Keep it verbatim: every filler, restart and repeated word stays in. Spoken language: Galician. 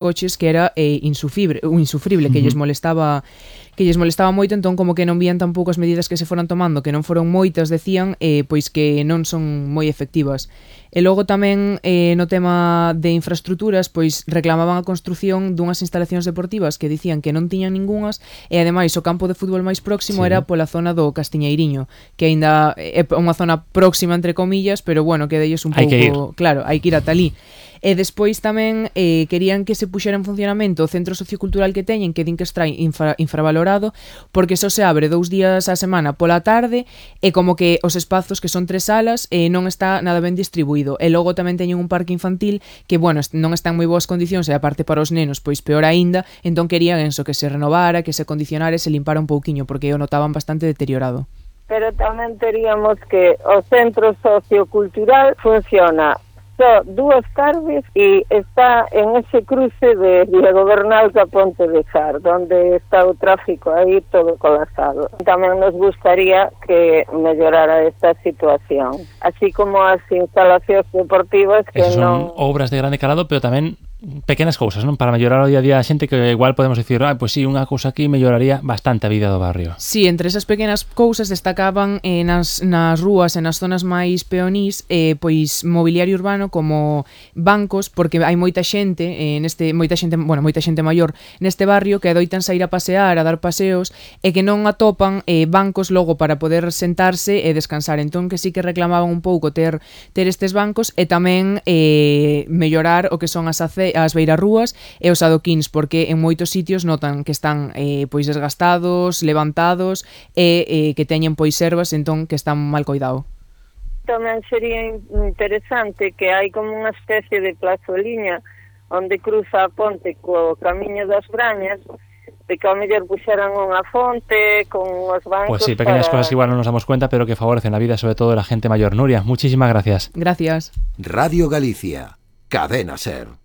coches que era eh, insufrible, insufrible, que uh-huh. lles molestaba que lles molestaba moito, entón como que non vían tampouco as medidas que se foran tomando, que non foron moitas, decían, eh, pois que non son moi efectivas. E logo tamén eh, no tema de infraestructuras, pois reclamaban a construción dunhas instalacións deportivas que dicían que non tiñan ningunhas, e ademais o campo de fútbol máis próximo sí. era pola zona do Castiñeiriño, que aínda é unha zona próxima entre comillas, pero bueno, que dellos un pouco, claro, hai que ir ata ali. E despois tamén eh, querían que se puxera en funcionamento o centro sociocultural que teñen, que din que está infra, infravalorado, porque só se abre dous días á semana pola tarde, e como que os espazos, que son tres salas, eh, non está nada ben distribuído. E logo tamén teñen un parque infantil que, bueno, non está en moi boas condicións, e aparte para os nenos, pois peor aínda, entón querían eso, que se renovara, que se condicionara e se limpara un pouquiño, porque o notaban bastante deteriorado. Pero tamén teríamos que o centro sociocultural funciona só dúas tardes e está en ese cruce de Diego Bernal ca Ponte de Sar, donde está o tráfico aí todo colapsado. Tamén nos gustaría que mellorara esta situación, así como as instalacións deportivas que Esas non... son obras de grande calado, pero tamén pequenas cousas, non? Para mellorar o día a día a xente, que igual podemos dicir, ah, pois pues sí, unha cousa aquí melloraría bastante a vida do barrio. Sí, entre esas pequenas cousas destacaban eh, nas, nas rúas e nas zonas máis peonís, eh, pois mobiliario urbano como bancos, porque hai moita xente eh, neste moita xente, bueno, moita xente maior neste barrio que adoitan sair a pasear, a dar paseos e que non atopan eh, bancos logo para poder sentarse e descansar. Entón que sí que reclamaban un pouco ter ter estes bancos e tamén eh, mellorar o que son as ace as beirarrúas e os adoquíns, porque en moitos sitios notan que están eh, pois desgastados, levantados e eh, que teñen pois servas, entón que están mal coidado. Tamén sería interesante que hai como unha especie de plazoliña onde cruza a ponte co camiño das Brañas, de que ao mellor puxeran unha fonte con os bancos. Pues sí, pequeñas para... cosas que igual non nos damos cuenta, pero que favorecen la vida, sobre todo de la gente mayor. Nuria, muchísimas gracias. Gracias. Radio Galicia, Cadena Ser.